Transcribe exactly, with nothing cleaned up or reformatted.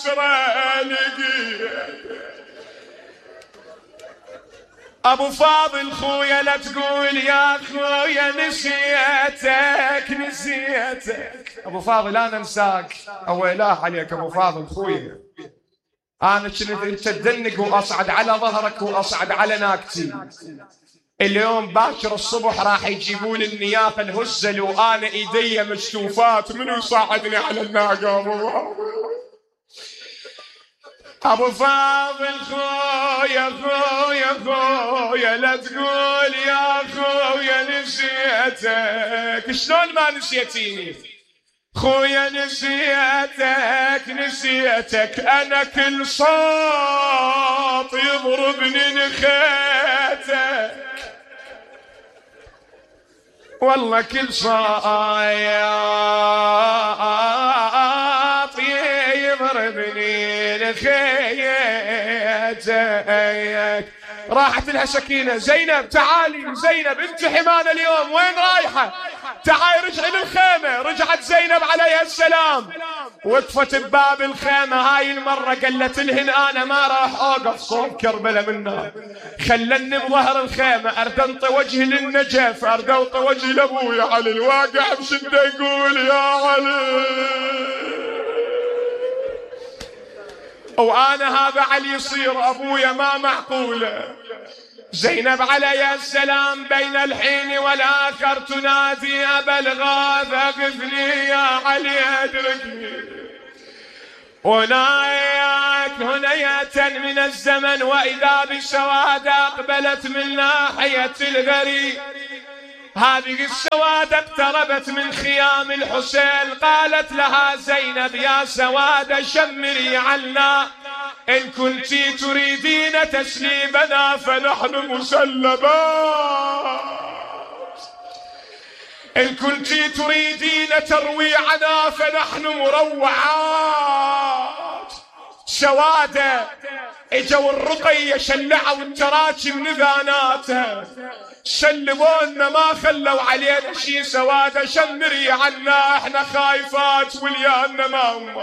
يسرى لقيت. ابو فاضل خويا لا تقول يا خويا نسيتك نسيتك. ابو فاضل انا انساك، او اله عليك ابو فاضل خويا. انا كنت تدنق واصعد على ظهرك واصعد على ناقتي. اليوم باكر الصبح راح يجيبون النيافه الهزل وانا ايدي مشتوفات، منو يصعدني على الناقه؟ ابو ابو فاضل خويا خويا خويا لا تقول يا خويا نسيتك. شلون ما نسيتيني خويا؟ نسيتك نسيتك. انا كل صوت يضربني نخيتك، والله كل صوت يضربني نخيتك. راحت لها سكينة. زينب تعالي، زينب انت حمانة اليوم، وين رايحة؟ تعالي رجعي للخيمة. رجعت زينب عليها السلام، وقفت بباب الخيمة. هاي المرة قالت لهن انا ما راح اوقف صوب كربلة من نار، خلني بظهر الخيمة ارد انطي وجهي للنجف، ارد انطي وجهي لابوي علي الواقع بشدة يقول يا علي. وانا هذا علي يصير ابويا ما معقوله. زينب عليها السلام بين الحين والاخر تنادي ابا الغاث اغثني يا علي ادركني. هناك هنية من الزمن واذا بالسواد اقبلت من ناحية الغري. هذه السوادة اقتربت من خيام الحسين. قالت لها زينب يا سوادة شمري عنا، إن كنت تريدين تسليمنا فنحن مسلمات، إن كنت تريدين ترويعنا فنحن مروعات. سوادة اجوا الرقية شلعوا التراجم نذاناتها، سلمونا ما خلوا علينا شي. سوادة شمري عنا احنا خايفات وليانا ما هم.